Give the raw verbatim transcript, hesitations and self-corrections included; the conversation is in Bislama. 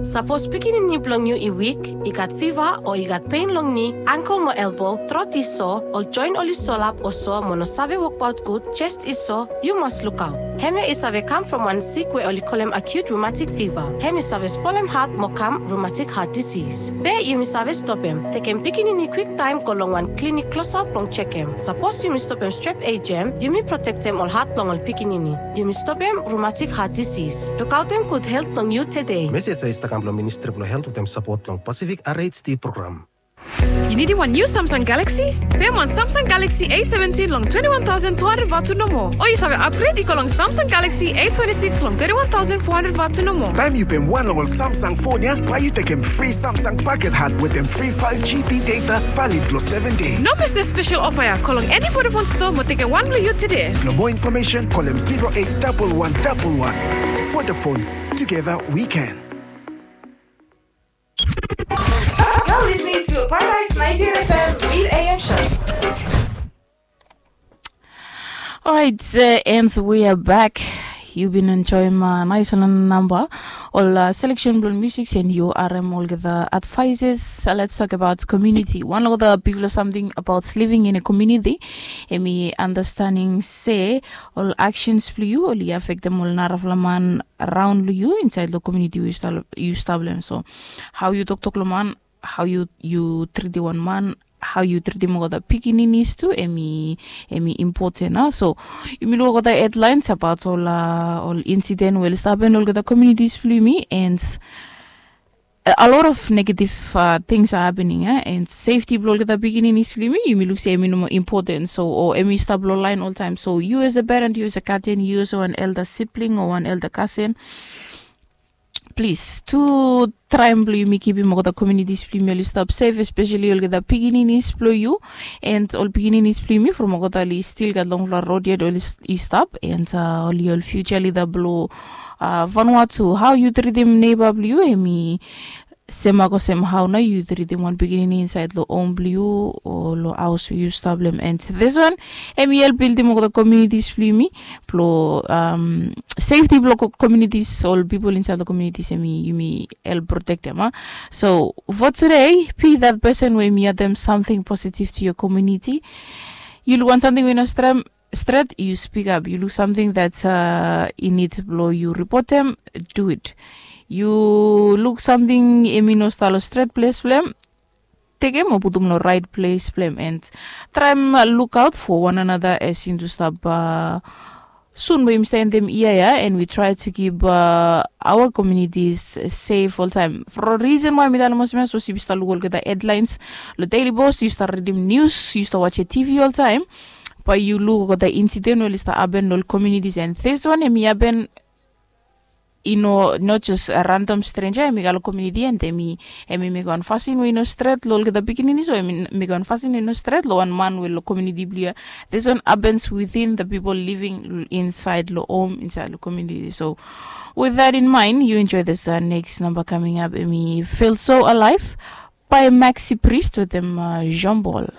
Sapos pikinini blong yu i wik, i gat fiva o i gat pen long ni, angkel mo elbo, trot i so, ol joen oli solap o so mo no save wokbaot gud, jes i so, yu mas lukaot. Hemia i save kam from wan sik we oli kolem acute rheumatic fever. Hem i save spolem hat mo kam rheumatic heart disease. Be yumi save stopem, tekem pikinini kwiktaem go long wan klinik klosap blong jekem. Sapos yumi stopem strep ejam, yumi protektem ol hat blong ol pikinini. Yumi stopem rheumatic heart disease. Lukaotem gud helt blong yu tede. Mesej ya i stap kam blong Ministri blong Helt wetem sapot blong Pacific R H D program. Yu nidim wan niu Samsung Galaxy? Pem wan Samsung Galaxy A seventin long twenty-one thousand two hundred vatu nomo. O yu save upgrade i go long Samsung Galaxy A twenty-six long thirty-one thousand four hundred vatu nomo. Taem yu pem wan long ol Samsung fon ya, bae yu tekem fri Samsung paket hat wetem fri five G B data valid long seven dei. No mes this special offer ya, go long eni Vodafone store mo tekem wan blong yu tede. Blong moa infomesen, kolem zero eight double one double one. Vodafone, together we can. You're listening to Paradise ninety-eight F M Lead A M Show. Alright, uh, and we are back. Yu bin enjoem nais wan namba ol selection blong musik, and yu harem olgeta advices. Uh, let's talk about community. Wan long olgeta bigfala samting about living in a community, hemi understanding se ol actions blong yu oli afektem ol narafala man raon long yu insaed long community we yu stap long hem. So hao yu toktok long man, hao yu tritim wan man, hao yu tritim olgeta pikininis tu, hemi impoten. A so yumi luk olgeta hedlaens abaot ol insiden we oli stap hapen long olgeta komiunitis blong yumi, and a lot of negative things are happening, and sefti blong olgeta pikininis blong yumi, yumi luk se hemi no moa impoten, so o hemi stap long laen oltaem. So yu as a peren, yu as a gaden, yu as wan elda sibling o wan elda kasen, plis tu traem blong yumi kipim olgeta komiunitis blong yumi oli stap sef, espeseli olgeta pikininis blong yu, and ol pikininis blong yumi from olgeta oli stil gat longfala rod yet oli stap, and oli ol fiuja lida blong Vanuatu. Hao yu tritim neba blong yu, hemi semak olsem hao nao yu tritim wan pikinini insaed long hom blong yu o long haos we yu stap long hem. And this one, hemi help bildim olgeta komiunitis blong yumi, blong sefti blong komiunitis, ol pipol insaed long komiunitis, hemi yumi help protektem. A so for today, be that person we hemi addem samting positive to your community. Yu luk wan samting we no stret, yu spikap. Yu luk samting that i nid blong yu ripotem, do it. Yu luk samting hemi no stap long stret ples blong hem, tekem o putum long raet ples blong hem, and traem lukaot fo wan anata as yumi tu stap sun blong yumi stap endem yia ya, and we try to keep our communities safe oltaem. For a reason why mi talem olsem ya, sapos yu stap luk olgeta hedlaens long Daily Post, yu stap ridim nius, yu stap wajem T V oltaem, bae yu luk olgeta insiden we oli stap hapen long ol komiunitis, and this one hemi hapen i no, not just a random stranger, hemi kam long komiuniti and hemi mekem wan fasin we i no stret long olgeta pikininis, o hemi mekem wan fasin we i no stret long wan man we long komiuniti blong yu ya. This one happens within the people living inside long hom, inside long komiuniti. So with that in mind, you enjoy this next number coming up, hemi Feel So Alive by Maxi Priest wetem Jean Paul.